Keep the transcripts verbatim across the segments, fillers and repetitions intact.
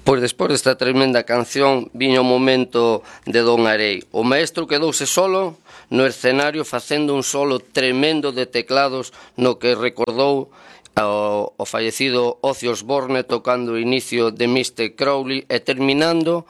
Pois despois desta tremenda canción viña o momento de Don Arey. O maestro quedouse solo no escenario facendo un solo tremendo de teclados no que recordou ao, ao fallecido Ozzy Osbourne tocando o inicio de mister Crowley e terminando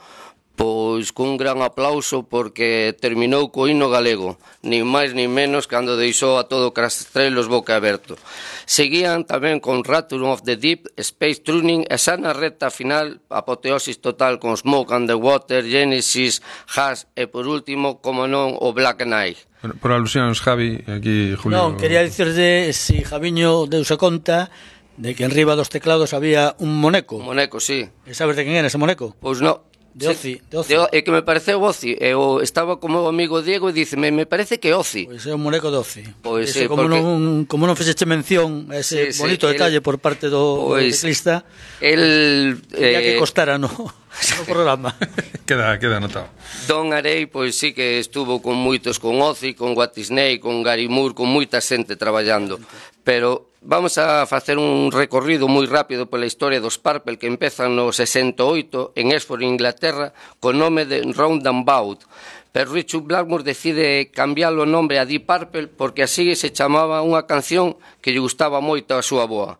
pois cun gran aplauso porque terminou co himno galego, nin máis nin menos cando deixou a todo Castrelos boca aberto. Seguían tamén con Return of the Deep, Space Tuning e xa na recta final, apoteosis total con Smoke and the Water, Genesis, Hash e por último, como non, o Black Knight. Bueno, por alusións, Javi, aquí Julio... Non, quería dicirde si Javiño deuse conta de que en riba dos teclados había un moneco. Un moneco, sí. E sabes de quen era ese moneco? Pois non. De Ozzy, de Ozzy. É que me pareceu Ozzy, e o, estaba como o amigo Diego e díceme, me parece que Ozzy. Pois é un moneco de Ozzy. Pois ese, sí, como, porque... non, como non fixeche mención a ese sí, bonito sí, detalle el, por parte do, pois, do ciclista, el... ya Eh, que costara no, no programa. queda, queda anotado. Don Arey, pois sí que estuvo con moitos, con Ozzy, con Whitesnake, con Gary Moore, con moita xente traballando, pero vamos a facer un recorrido moi rápido pola historia dos Purple que empezan no sesenta e oito en Oxford, Inglaterra, con nome de Roundabout. Pero Richard Blackmore decide cambiar o nome a Deep Purple porque así se chamaba unha canción que lle gustaba moito a súa boa.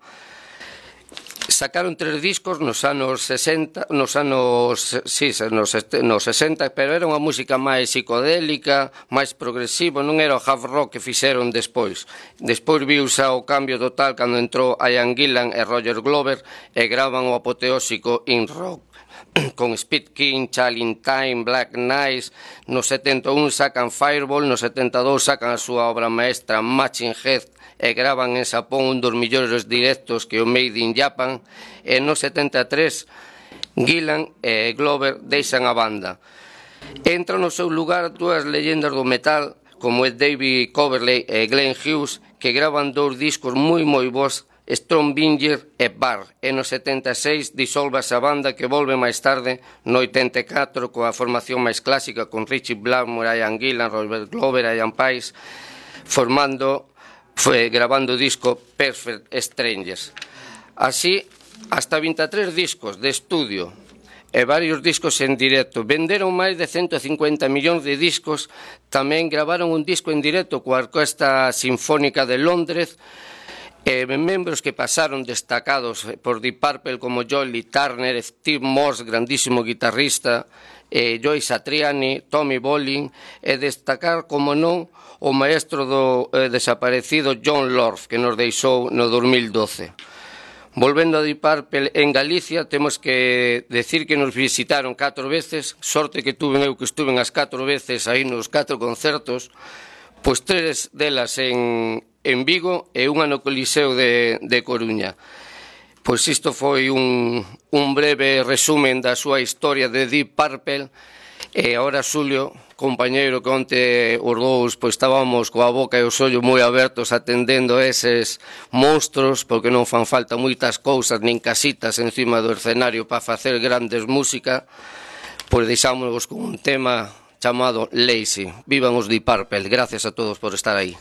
Sacaron tres discos nos anos sesenta, nos anos, sí, nos, nos sesenta, pero era unha música máis psicodélica, máis progresivo, non era o hard rock que fixeron despois. Despois viuse o cambio total cando entrou Ian Gillan e Roger Glover e graban o apoteósico In Rock con Speed King, Challenge Time, Black Knight. No setenta e un sacan Fireball, no setenta e dous sacan a súa obra maestra Machine Head e gravan en Xapón un dos millores directos que o Made in Japan, e no setenta e tres Gillan e Glover deixan a banda. Entran no seu lugar dúas leyendas do metal como é David Coverley e Glenn Hughes, que gravan dous discos moi moi bons, Strombinger e Bar, e no setenta e seis disolvase a banda que volve máis tarde no oitenta e catro coa formación máis clásica con Richie Blackmore, Ian Gillan, Robert Glover e Ian Paice formando foi grabando o disco Perfect Strangers. Así, hasta vinte e tres discos de estudio e varios discos en directo. Venderon máis de ciento cincuenta millóns de discos. Tamén gravaron un disco en directo coa Orquesta Sinfónica de Londres, e membros que pasaron destacados por Deep Purple como Joey Turner, Steve Morse, grandísimo guitarrista, eh, Joe Satriani, Tommy Bolin, e destacar, como non, o maestro do eh, desaparecido John Lord, que nos deixou no dos mil doce. Volvendo a Deep Purple, en Galicia temos que decir que nos visitaron catro veces, sorte que tuve eu que estuve as catro veces aí nos catro concertos, pois tres delas en, en Vigo e unha no Coliseo de, de Coruña. Pois isto foi un, un breve resumen da súa historia de Deep Purple. E agora, Xulio, compañeiro, que onte os dous pois, estábamos coa boca e os ollos moi abertos atendendo eses monstros, porque non fan falta moitas cousas nin casitas encima do escenario para facer grandes música, pois deixámonos con un tema chamado Lazy. Vivan os Deep Purple. Gracias a todos por estar aí.